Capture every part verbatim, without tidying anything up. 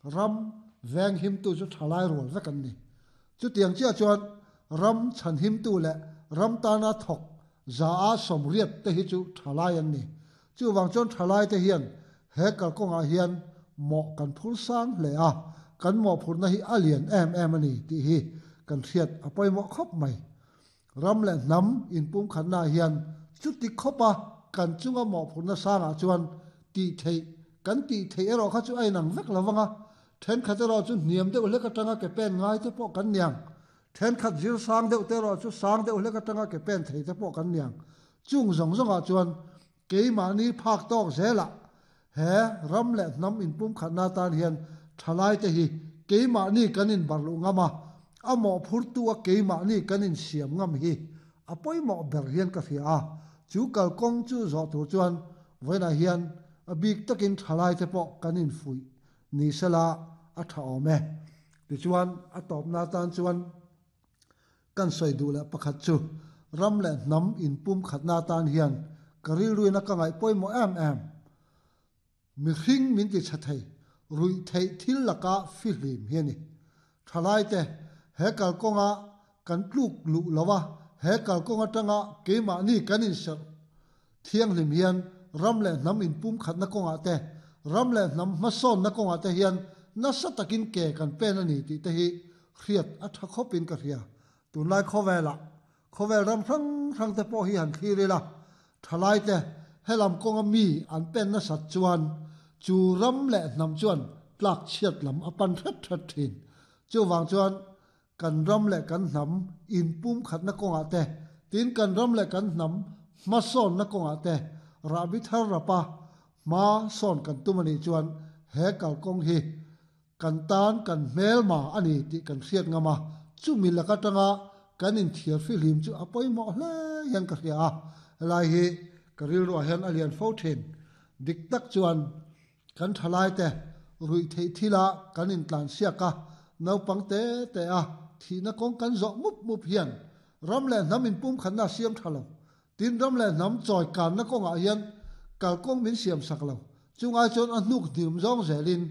Ram veng him tu chu thalai rual vek an ni. Chu tiang chia chuan ram chan him tu le ram tana thok za a somriat te hi chu thalai an ni. Chu wang chuan thalai te hian he kalkawnga hian mo kan phur sang hle a kan mo phurna hi alian em em ani ti hi kan thiat apoi mo khop mai. Ram le nam in pum khanna hian chu ti khopa kan chunga mo phurna sanga chuan ti thei kan ti thei ero kha chu ai nang vek lawanga then khat ero chu niam deuh hlek atanga ke pen ngai te pawh kan niang then khat zir sang deuh te ro chu sang deuh hlek atanga ke pen thei te pawh kan niang chung zong zonga chuan keimahni phak tawk zela he ram le nam in pum khatna tan hian thalai te hi keimahni kanin barlu ngama amo phur tu a keimahni kanin siam ngam hi apoi mo ber hian ka hria a chu kalkawng chu zo tur chuan voina hian a bik takin thalai te pawh kanin fui ni sela a tha awm e. Ti chuan a tawpna tan chuan kan sawi duh leh pakhat chu ram leh hnam in pum khatna tan hian ka rilruina ka ngaih pawimawh em em. Mi hring min ti tha thei rui thei thil laka fi hlim hi ani. Thalai te he kalkawnga kan tluk lu lowa he kalkawnga tanga keimahni kanin ser thiang hlim hian ram leh hnam in pum khatna kawnga te ram leh hnam hmasawn na kawnga te hian nasa takin ke kan pen ani tih te hi hriat a tha khawpin ka hria. Tunlai khawvela khawvel ram hrang hrang te pawh hi han thlir ila thalai te helam kawnga mi an pen na sat chuan chu ram leh hnam chuan tlak chhiat lam a pan hret hret thin. Chu wang chuan kan ram leh kan hnam in pum khatna kawnga te tin kan ram leh kan hnam hmasawn na kawnga te rabi thar rapa ma sawn kan tum ani chuan he kalkawng hi kan tan kan hmel ma ani tih kan hriat ngama chu mi laka tanga kan in thiar fi hlim chu apawimawh hle hian ka hria a. Helai hi ka rilruah hian a lian fo thin. Dik tak chuan kan thalai te rui thei thila kan in tlan siak a naupang te te a thihna kawng kan zawh mup mup hian ram leh hnam in pum khatna siam tha lo. Tin ram leh hnam chawi kanna kawngah hian kalkawng min siam sak lo. Chungai chuan a hnuk hnim zawng zelin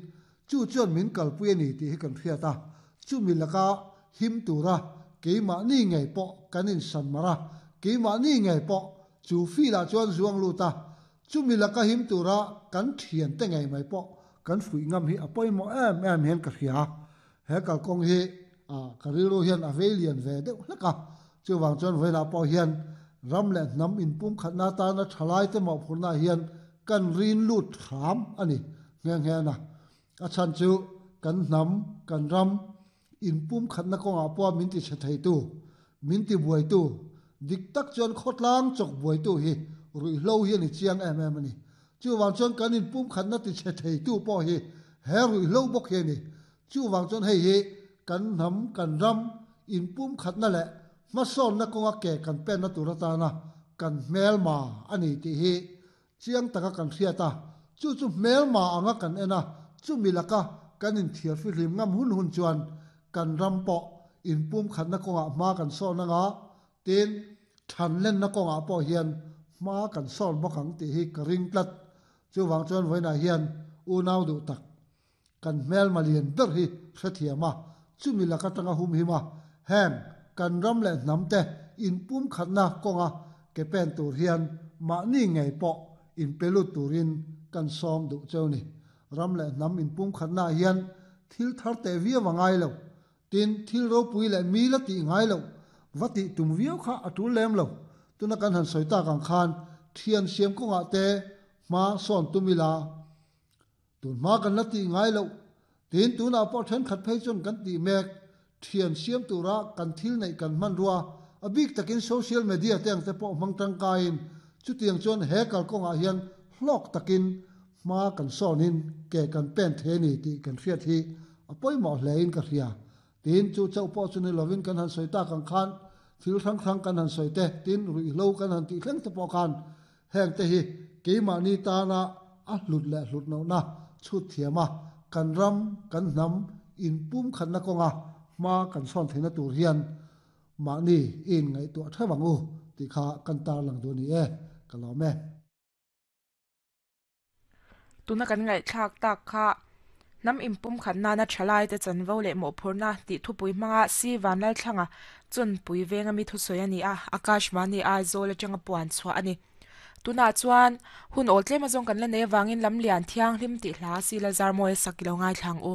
chu chuan min kalpui ani tih hi kan hriat a. Chu mi laka him tura keimahni ngei pawh kan in san mara keimahni ngei pawh chu fila chuan zuang luta chu mi laka him tura kan thian te ngei mai pawh kan fui ngam hi apawimawh em em hian ka hria. He kalkawng hi a ka rilru hian a vei lian ve deuh hlek a. Chu wang chuan voina pawh hian ram leh hnam in pum khatna tana thalai te mawh phurna hian kan rin lut hram ani nghe nghe na. A chan chu kan hnam kan ram in pum khatna kawnga pawh min ti che thei tu min ti buai tu dik tak chuan khawtlang chawk buai tu hi rui hlo hi ani chiang em em ani. Chu wang chuan kan in pum khatna ti che thei tu pawh hi he rui hlo bawk hi ani. Chu wang chuan hei hi kan hnam kan ram in pum khatna leh hmasawn na kawnga ke kan pen na tur atana kan hmel ma ani tih hi chiang taka kan hriat a. Chu chu hmel ma anga kan en a chu mi laka kan in thiar fi hlim ngam hun hun chuan kan ram pawh in pum khatna kawnga hma kan sawn anga tin than len na kawnga pawh hian hma kan sawn bawk ang tih hi ka ring tlat. Chu wang chuan voina hian unau duh tak kan hmel ma lian ber hi hrethiam a chu mi laka tanga hum him a heng kan ram leh hnam te in pum khatna kawnga ke pen tur hian mahni ngei pawh in pelut turin kan sawm duh cheu ni. Ram leh hnam in pum khatna hian thil thar te viau a ngai lo. Tin thil ropui leh mi la tih ngai lo va tih tum viau kha a tul lem lo. Tuna kan han sawi tak ang khan thian siam kawnga te hma sawn tumila tun hma kan la tih ngai lo. Tin tuna pawh then khat phei chuan kan tih mek thian siam tura kan thil nei kan hman rua a bik takin social media te ang te pawh hmang tangkain chu tiang chuan he kalkawnga hian hlawk takin hma kan sawnin ke kan pen the ni tih kan hriat hi a pawimawh hlein ka hria. Tin chu chauh pawh chu ni lovin kan han sawi tak ang khan thil hrang hrang kan han sawi te tin rui hlo kan han tih thleng te pawh khan heng te hi keimahni tana a hlut leh hlut lohna chhut thiam a kan ram kan hnam in pum khatna kawnga hma kan sawn theihna tur hian mahni in ngaihtuah theuh ang u tih kha kan tar lang duh ani e ka lawm e. Tuna kan ngaih thlak tak kha Nam impum khat nana thalai te chanvo leh mawhphurhna tih thupui hmanga si vanlal thlanga chun pui venga mi thusawi ani a Akashvani Aizawl atanga puan chhuah ani tuna chuan hun awl tlem azawng kan la nei awangin lamlian thianghlim tih hla si la zar mawi sak ilo ngai thlang u.